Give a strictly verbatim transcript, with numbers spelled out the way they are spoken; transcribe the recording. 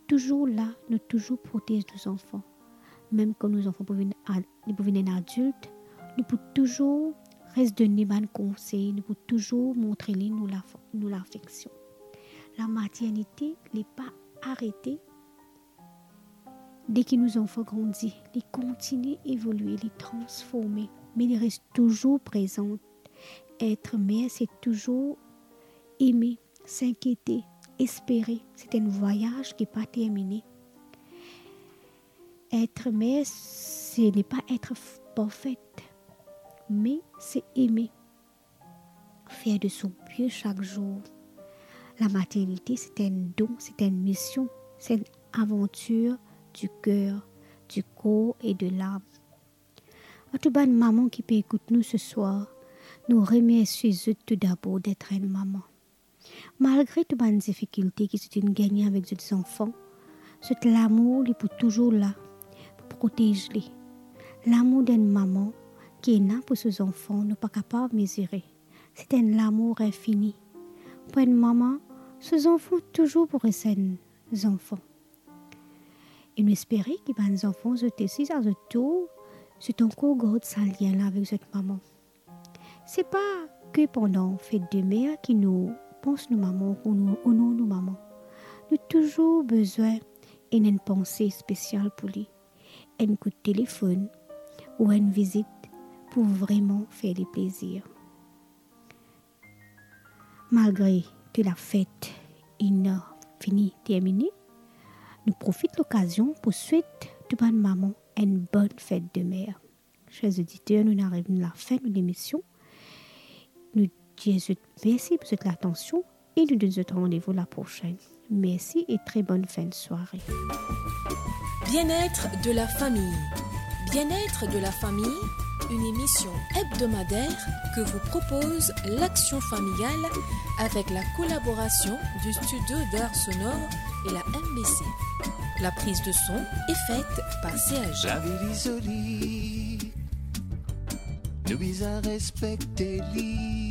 touzour la, nou touzour protez nou zanfan. Mem kan nou zanfan pou vinn ad-, li pou vinn enn adilt, nou pou touzour res donn li bann konsey, nou pou touzour montre li nou laf-, nou lafeksion. Lamaternite, li pa arete deki nou zanfan grandi, li kontinie evolie, li transforme, me li res touzour prezan. Etre mer, se touzour eme, sinkiete, espere. Se enn vwayaz ki pa termine. Etre mer, se ne pa etre f-, parfet, me se eme. Fer de son mie sak zour. Lamaternite, se enn don, se enn mision, se enn avantir di ker, di kor e de lam. A tou bann mama ki pe ekout nou seswar, nou remersie zot toudabor d'etre enn mama. Malgre tou bann difikilte ki zot inn gagne avek zot zanfan, zot lamour li pou touzour la pou protez li. Lamour d'enn mama ki ena pou so zanfan, nou pa kapav mezire. Se enn lamour infini. Pou enn mama, so zanfan touzour pou res enn zanfan. E nou espere ki bann zanfan zot osi, a zot tour, zot ankor gard sa lien la avek zot mama. Se pa ke pandan fet de mer ki nou pans nou mama ou nou onor nou mama. Nou touzour bizin enn, enn panse spesial pou li, enn kout telefonn ou enn vizit pou vreman fer li plezir. Malgre ke lafet inn fini termine, nou profit lokazion pou swet tou bann mama enn bonn fet de mer. Cher oditer, nou inn ariv lafin nou lemision. Nou dir zot mersi pou zot latansion e nou donn zot randevou laprosenn. Merci et très bonne fin de soirée. Bien-être de la famille. Bien-être de la famille, une émission hebdomadaire que vous propose l'Action familiale avec la collaboration du Studio d'art sonore et la M B C. La prise de son est faite par C A G. Lavi li zoli, nou bizin respekte li.